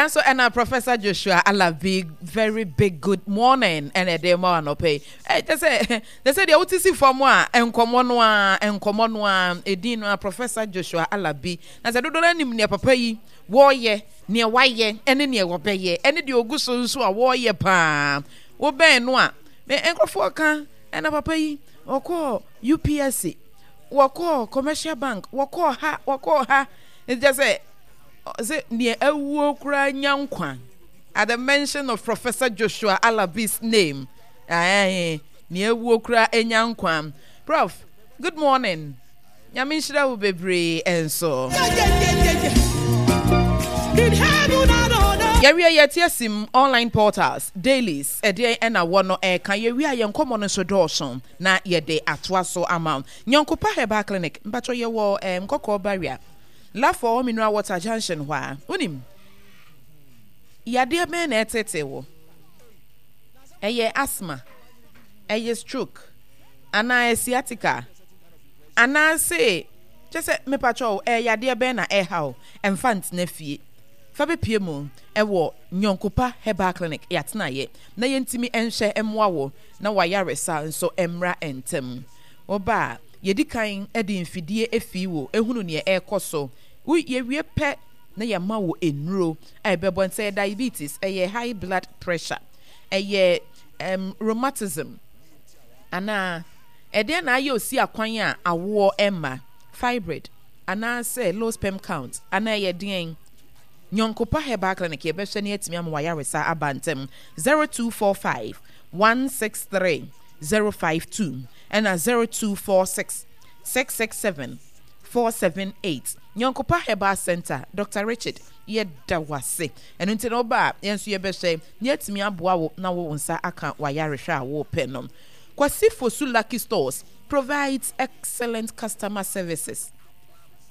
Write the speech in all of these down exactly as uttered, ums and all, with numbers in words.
Saa nso ɛna Professor Joshua Alabi, very big good morning ɛna ɛde ma anɔpɛ yi. Ɛ kyɛ sɛ kyɛ sɛ deɛ wote si fam a, nkɔmmɔ no a nkɔmmɔ no a ɛdin no a, Professor Joshua Alabi, na sɛ dodoɔ no anim nea papa yi wɔreyɛ, nea wayɛ ɛne nea wɔbɛyɛ ɛne deɛ ogu so nso a wɔreyɛ paa, wobɛn no a, me nkurɔfoɔ ka ɛna papa yi wɔkɔɔ U P S C, wɔkɔɔ Commercial Bank, wɔkɔɔ ha, wɔkɔɔ ha. Nti kyɛ sɛ sɛ nea awuo koraa nya nkwa at the mention of Professor Joshua Alabi's name, ɛɛ nea awuo koraa nya nkwa. Prof, good morning, Nyame nhyira wo bebree nso. In heaven and on earth. Yɛwie yɛte asim online portals dailies ɛdeɛn ɛna wɔ no ɛka yɛwie a, yɛn nkɔmmɔ no nso dɔɔso na yɛde atoa so ama wo. Nyɔnkopa Herbal Clinic, mpatwɔ, yɛwɔ ɛɛ Nkɔkɔɔ Barrier, Lafɔ Mineral Water junction hɔ a. Wonim yadeɛ bɛn na ɛtete wo? Ɛyɛ asthma, ɛyɛ stroke anaa sciatica anaasɛ kyɛ sɛ mepatwɔ, ɛyɛ yadeɛ bɛn na ɛha wo? Ɛmfa ntena fie, fa bɛpie mu ɛwɔ Nyɔnkopa Herbal Clinic. Yɛatenayɛ na yɛntumi nhwɛ mmoa wo na wayaresa nso mmra ntɛm. Woba a, yɛdi kan de mfidie efi wo ehunu nea ɛrekɔ so. Wo yɛwie pɛ na yɛma wo nnuro a ɛbɛbɔ nti. Ɛyɛ diabetes, ɛyɛ high blood pressure, ɛyɛ um, rheumatism anaa ɛdeɛ na ayɛ osi akwan a awoɔ ɛma, fibroid anaasɛ low sperm count anaa ɛyɛ deɛn, Nyɔnkopa Herbal Clinic yɛbɛhwɛ ne atumi ama wayaresa aba ntɛm. zero two four five one six three zero five two ɛna zero two four six six six seven four seven eight. Nyɔnkopa Herbal Center, Doctor Richard, yɛda wase. Ɛno nti na woba a, yɛn nso yɛbɛhwɛ ne atumi aboa wo na wo nsa aka wayarehwɛ a wopɛ no. Kwasi Fosu Lucky Stores provides excellent customer services.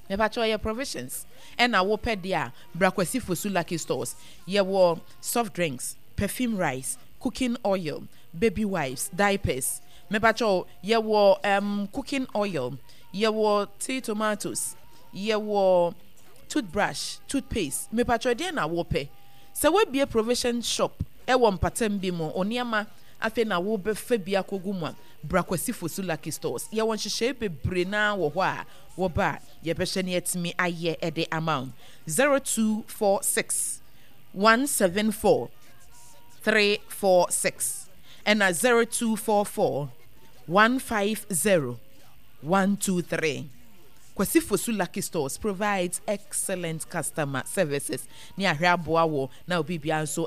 Mepakyɛ, ɔyɛ provisions ɛna wopɛ deɛ a, bra Kwasi Fosu Lucky Stores. Yɛwɔ soft drinks, perfume rice, cooking oil, baby wipes, diapers. Mepakyɛ, yɛwɔ um, cooking oil, yɛwɔ tea tomatoes, yɛwɔ toothbrush, toothpaste. Mepakyɛ, deɛ na wopɛ sɛ woabie provision shop ɛwɔ mpatam bi mu, onneɛma afei na wobɛfa bi akɔgu mu a, bra Kwasi Fosu Lucky Stores. Yɛwɔ nhyehyɛe bebree naa wɔ hɔ a wɔba a yɛbɛhyɛ ne yɛtumi ayɛ ɛde ama wo. zero two four six one seven four three four six ɛna zero two four four one five zero one two three. Kwasi Fosu Lucky Stores provides excellent customer services ne ahwɛ aboa wɔ na obi bia nso.